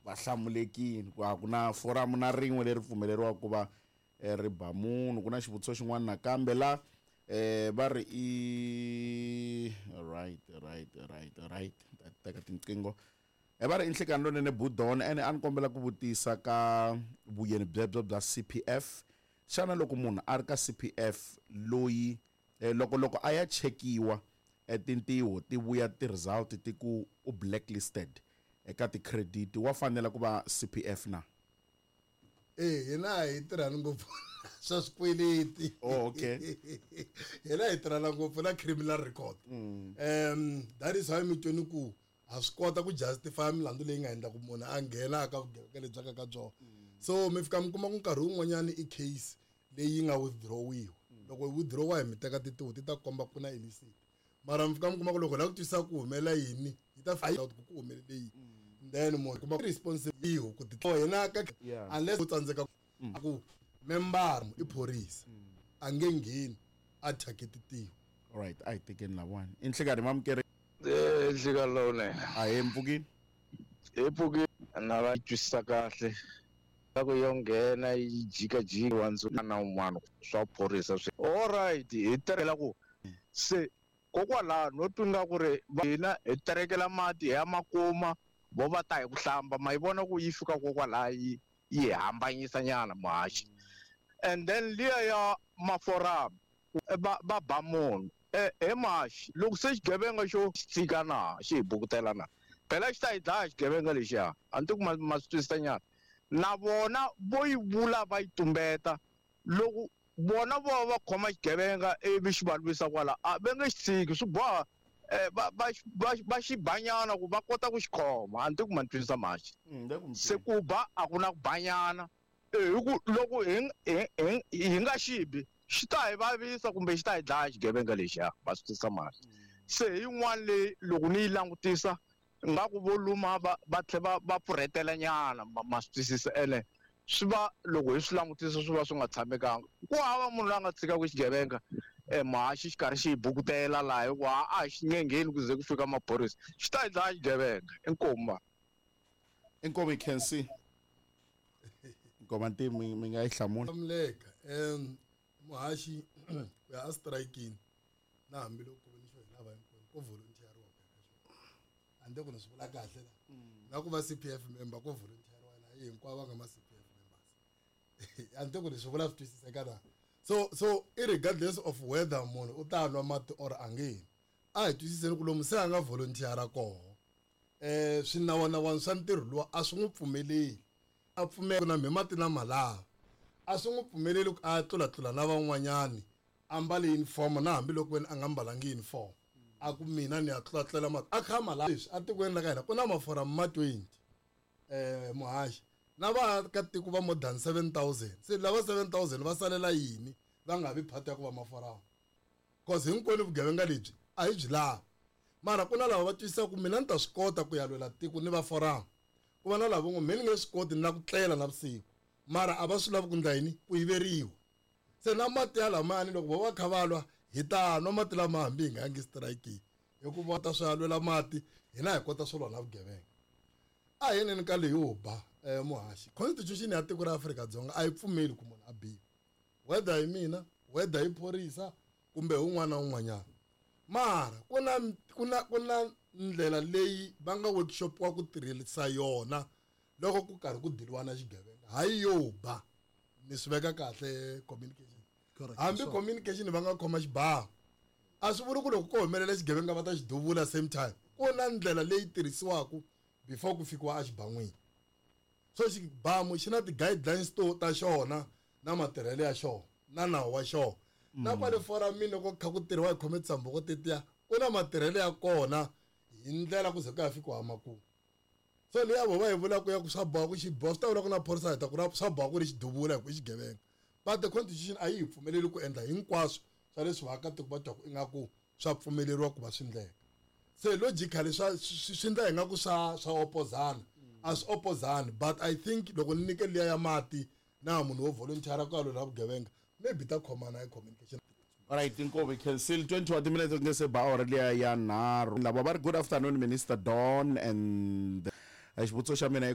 Va hlamulekile ku a ku na foramu na rin'we leri pfumeleriwaka ku va eh, ri ba munhu. Ku na xivutiso xin'wana nakambe la eh va ri i right right right right ta teka tinqingho e va ri i nhlekani lonene budon ene a ni kombela ku vutisa ka vuyeni byebyo bya CPF xana loko munhu a ri ka CPF loyi eh, loko loko a ya chekiwa eh, tintiho ti vuya ti-result ti ku u blacklisted eka ti-credit wa fanela ku va CPF na? E hina hi tirhani ngopfu swa swikweleti. Oh, okay. Hina hi tirhana ngopfu na criminal record. That is why mi tweni ku ha swi kota ku justify milandzu leyi nga endla ku munhu a nghena aka vugevenga lebyi ka ka byona. So mi fika mi kuma ku nkarhi wun'wanyani i case leyi nga withdrawiwa. Loko yi withdrawa hi mi teka tintiho ti ta komba ku na illicit. Mara mi fika mi kuma ku loko hi lava ku twisisa ku humelela yini yi ta find out ku ku humelele yini. Then munhu kuma responsibility ku ti hina ka unless u tsandzeka ku member i phorisa a nge ngheni a thyake tintiho. Alright, a hi tekeni lawani. I nhlekani mamukeri. Eh, nhlekani lowunene. A hi mpfukini. Hi pfukini na va twisisa kahle. Ku yo nghena yi jikajika wa na un'wana swa phorisa swi. Alright, hi tirhela ku se kokwalaho no twi nga ku ri hina hi terekela mati hi ya makuma vo va ta hi ku hlamba ma yi vona ku yi fika kokwalaho yi yi hambanyisa nyana muhaxi. And then liya ya maforamu va va ba munhu he muhaxi loko se xigevenga xo xi tshika na xi hi bukutela na phela xi ta hi dlaya xigevenga lexiya a ni tivi ku ma swi twisisa nyana na vona vo yi vula va yi tumbeta loko vona vo va khoma xigevenga ivi xi va lwisa kwala a va nge xi tshiki swi boha va va va va xi banyana ku va kota ku xi khoma a ni tivi ku ma ni twisisa muhaxi. Se ku ba a ku na ku banyana hi ku loko hi hi hi nga xi bi xi ta hi vavisa kumbe xi ta hi dlaya xigevenga lexiya ma swi twisisa muhaxi. Se hi yin'wana leyi loko ni yi langutisa nga ku vo luma va va tlhe va va pfurhetela nyana ma swi twisisa ene swi va loko hi swi langutisa swi va swi nga tshamekanga ku hava munhu loyi a nga tshikaka xigevenga muhaxi xi karhi xi hi bukutela laha hikuva a xi nge ngheni ku ze ku fika maphorisa xi ta hi dlaya xigevenga inkomu. Inkomu hi khensi. Nkoma ntimu mi nga yi hlamula. Hlamuleka muhaxi ku ya a strikini na hambiloko ku ni xo hi lava hinkwenu ko volunteeriwa ku ya ka xona handle ku ni swi vula kahle la na ku va CPF member ko volunteeriwa na hinkwavo va nga ma CPF members handle ku ni swi vula swi twisiseka na so irregardless of whether munhu u ta nwa mati or a nge nwi a hi twisiseni ku lomu se a nga volunteera koho swinawanawana swa ntirho luwa a swi n'wi pfumeleli a pfumela na mhe mati na malava a swi n'wi pfumeleli ku a tlulatlula na van'wanyani a mbale uniform na hambiloko wena a nga mbalangi uniform a ku mina ni ya tlulatlulela mati a kha malava leswi atikweni la ka hina ku na maforamu ma 20 muhaxi na vaakatiko va more than 7000 se lava 7000 va salela yini va nga vi part ya ku va maforamu cause hinkwenu vugevenga lebyi a hi byi lavi mara ku na lava va twisisaka ku mina ni ta swi kota ku ya lwela tiko ni va foramu ku va na lava ngo me ni nge swi koti ni la ku tlela navusiku mara a va swi lavi ku ndla yini ku yiveriwa se na mati ya lamani loko vo va kha va lwa hi ta nwa mati lama hambi hi nga yangi strikini hikuva ta swi ya lwela mati hina hi kota swo lwa na vugevenga a hi yeneni ka leyo ba muhaxi constitution ya tiko ra Afrika-Dzonga a yi pfumeli ku munhu a biwa whether hi mina whether hi phorisa kumbe un'wana na un'wanyana mara ku na ku na ku na ndlela leyi va nga workshop wa ku tirhisa yona loko ku karhi ku diliwa na xigevenga hayi yo ba ni swi veka kahle communication hambi communication va nga khoma xibamu a swi vuli ku loko ko humelela xigevenga va ta xi duvula same time ku na ndlela leyi tirhisiwaka before ku fikiwa exiban'wini so xibamu xi na ti-guidelines to ta xona na matirhelo ya xona na nawu wa xona na kwale foramini loko kha ku tirhiwa hi khome tshamboko tetiya ku na matirhelo ya kona hi ndlela ku ze ku ya fikiwa makumu so leya vo va yi vulaka ya ku swa boha ku xi boha swi ta vula ku na phorisa hi ta ku ra swa boha ku ri xiduvula hi ku i xigevenga but the constitution a yi hi pfumeleli ku endla hinkwaswo swa leswi vaakatiko va twaku ingaku swa pfumeleriwa ku va swi ndleka se logically swa swi ndla ingaku swa swa opozana a swi opozani but I think loko ni nyike liya ya mati na munhu wo volunteer ku ya lwela vugevenga maybe ta khomana hi communication. Alright, inkomu cancel 20 wa timinete ku nge se ba awara liya ya nharhu lava va ri good afternoon Minister Don and xivutiso xa mina.